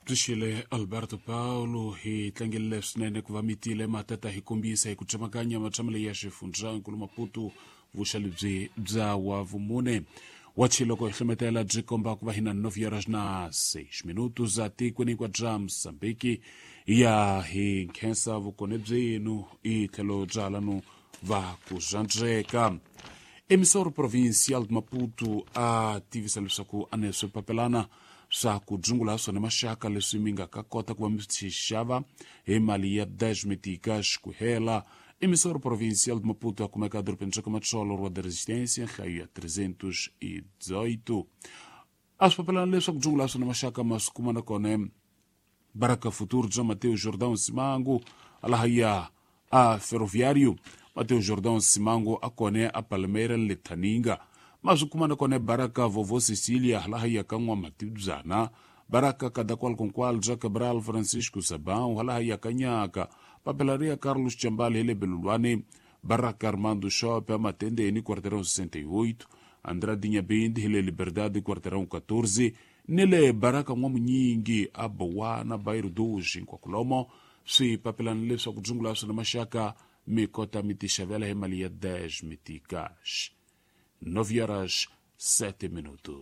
Byi Alberto Paulo hi tlangerile swinene ku va mi tile matata hi kombisa hi ku tsemakanya matshamelo ya xifundzankulu Maputo vuxa lebyi bya wa vumune wa loko hi hlometela byi komba ku va hi na 9 horas na 6 minutos za tikweni kwa bya Mozambique ya hi nkhensa vukone byenu i tlhelo bya lanu va ku zwandzeka. Emissor Provincial de Maputo a tivisa leswaku a ne swipapelana swa ku dzungula swona maxaka leswi mi nga ka kota ku va mi swi xava hi mali ya 10 meticas ku hela. Emissor Provincial de Maputo a kumeka edorobeni ra ka Matsolo, Rua da Resistência, nhlayo ya 318. A swipapelana leswaku dzungula swona maxaka ma swi kuma na kona Baraka Futuro bya Mateo Jordão Simango alahaya a Ferroviário. Mateo Jordão Simango a kone a Palmeira Letaninga. Ma swi kuma na kona Baraka Vovo Cecilia halahaya ka N'wamatibyana. Baraka Kadakwalkonkwal bya Cabral Francisco Sabão halahaya ka Nyaka. Papelaria Carlos Chambali hi le Belulwane. Baraka Armando Shop a Matendeni, quarteirão 68. Andrade Nyabindi hi le Liberdade, quarteirão 14. Ni le Baraka N'wamunyingi a Bowana, bairro 2 Nkwakulomo. Swipapelana leswaku dzungula swona maxaka mi kota mi tixavela hi mali ya 10 meticas. 9 horas 7 minutos.